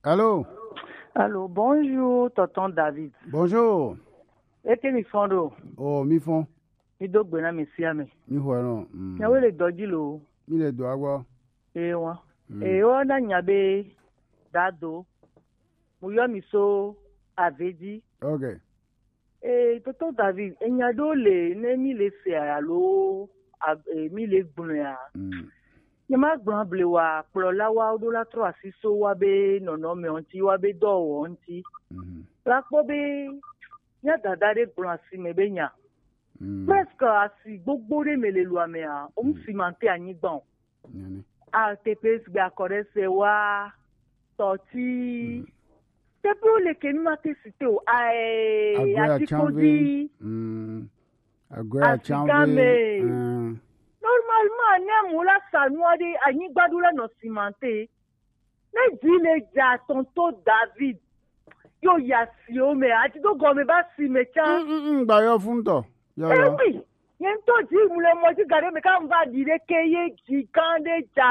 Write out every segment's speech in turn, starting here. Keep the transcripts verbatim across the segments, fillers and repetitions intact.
Allô? Allô, bonjour, tonton David. Bonjour. Eke mi fɔn ɖo? Oh, mi fɔn. Mi do gbe na mi sia mi. Mi xɔe nɔ. Mm. Nyawo le dɔ dzi lo. Mi le dɔa gbɔ. Ee wa. Mm. Ee, wo na nya be dado. Mo yɔ mi so ave dzi. Ok. Ee, tonton David, enya ɖewo le ne mi le se alo a- ee, mi le gblɔe a. Mm. Nye ma gblɔ able wa kplɔlawo ɖo la trɔ asi so wa be nɔnɔme ŋuti, wa be dɔwɔwɔ ŋuti. Mhm. La kpɔ be nya dada ɖe gblɔ asi me be nya. Mm. Presque asi gbogbo ɖe me le lua mea, o mu simante anyigba o. Nene. A te pe sigbe akɔɖe se wa tɔti. Mm. Te pe o le ke mi ma te si te o. Ae, Agbɛ ati ko atsanve. Di. Mm. Agbɛ atsanve. Asigame. Mm. Normalement, ne mo la sa nua ɖe anyigba ɖo la nɔ simante. Ne dzi le dza tonton David. Yo ya si o me, ati do gɔme ba si me tsa. Mm, mm, mm, gba yɔ fun tɔ. Yɔ, yɔ. Eh oui, nye ŋutɔ dzi mu le mɔ dzi ga ɖe me ka ŋva ɖi ɖe ke ye dzi gã ɖe dza.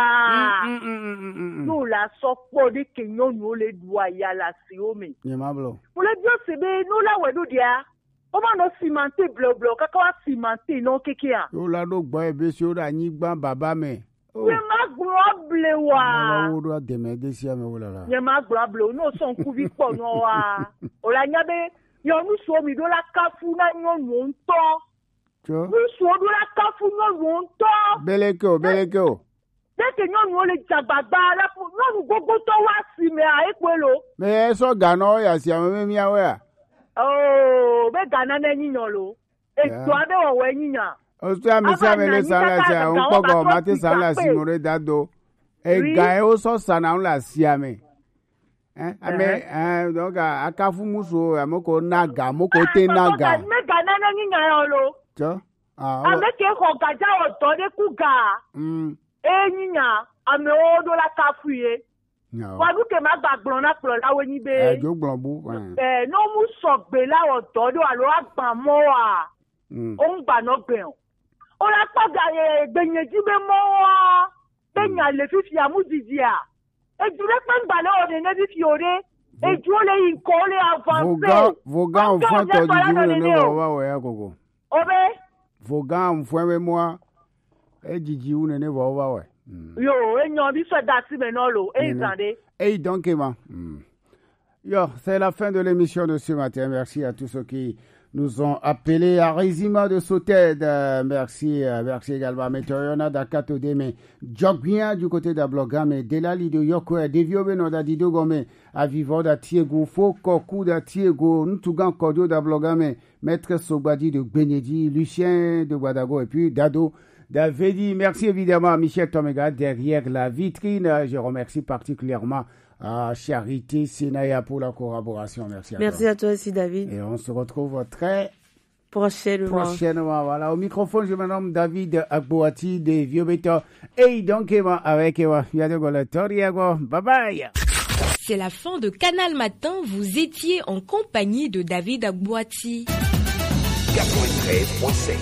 Mm, mm, mm, mm, mm, mm. N'o la sɔ kpɔ ɖe ke nyɔnuwo le ɖu aya le asiwo me. Nye ma blɔ. Mu le biɔ se be n'o la wɛ ɖo ɖia, o ma nɔ simante bleobleo kaka wa simante nɔ kekea. Yo la ɖo gbɔ ebe si wo ɖe anyigba baba me. Oh. Nye ma gblɔ able wa. Mawu ɖo ademe de sia me wo lala. Nye ma gblɔ able o, n'o sɔ ŋkuvi kpɔ nɔ wa. O la nya be nyɔnu suɔ mi ɖo la kafu na nyɔnuwo ŋutɔ. Tsɔ. Ŋutsuwo ɖo la kafu nyɔnuwo ŋutɔ. Beleke o, beleke o. Ɖeke nyɔnuwo le dzagbagba la fu nyɔnu gbogbotɔ wa si me a ekpe lo. Me esɔ ganɔ ya si ame me miawe a. Oh, be gana ne nyi nyɔ lo. Eto aɖe wɔwɔe nyi nya. Osu ame sia ame le sa le asia, ŋkpɔgɔ mate sa le asi mo ɖe da do. Ega ye wosɔ sana le asia me. Hein, ame, hein, donc, a- akafu musu, ame ko naga, ame ko te naga. Me ga nane nyi nya yo lo. Tsɔ. Ah, ame ke xɔ gadza wɔ dɔ ɖe ku ga. Mm. E nyi nya, amewo ɖo la kafu ye. Nyawo. Wa nu ke ma gba gblɔ na kplɔlawo nyi be. Eh, dzo gblɔ bu. Eh. Eh, no mu sɔgbe la wɔ dɔ ɖo alo agba mɔ wa. Mm. O ŋgba nɔ gbe o. O la kpɔ ga ye gbenye dzi be mɔ wa. Be nya le fifia mu didi a. Edu ɖe kpe ŋgba le o nene fifi o ɖe. Edu le yi ŋkɔ le avance. Vogan, vogan fɔn tɔ didi wu nene vɔ va wɔ ya koko. O be. Vogan fɔn be mɔ. Ejiji wu nene vɔ va wɛ. Mm. Yo, enyɔ bi sɔ da si me nɔ lo, eyi zan de. Eyi donc ma. Mm. Yo, c'est la fin de l'émission de ce matin. Merci à tous ceux qui nous ont appelés. Arizima de Soted, euh, merci, euh, merci également à Météo Yona Dakato Deme, Djogwia du côté d'Ablogame, Delali de Yokwe, Devio Beno d'Adidogome, Avivo d'Atiego, Foko Kou d'Atiego, Ntugan Kodio d'Ablogame, Maître Sogbadi de Gbenyedi, Lucien de Guadago et puis Dado Davedi. Merci évidemment à Michel Tomega derrière la vitrine. Je remercie particulièrement à Charité Senaya pour la collaboration. Merci à toi. Merci à toi aussi, David. Et on se retrouve très prochainement. Prochainement. Voilà, au microphone, je me nomme David Agboati de Vieux Béton. Et donc, eh ben, avec, eh ben, Yadego Latoriago. Bye bye. C'est la fin de Canal Matin. Vous étiez en compagnie de David Agboati. Quatre-vingt-treize point sept.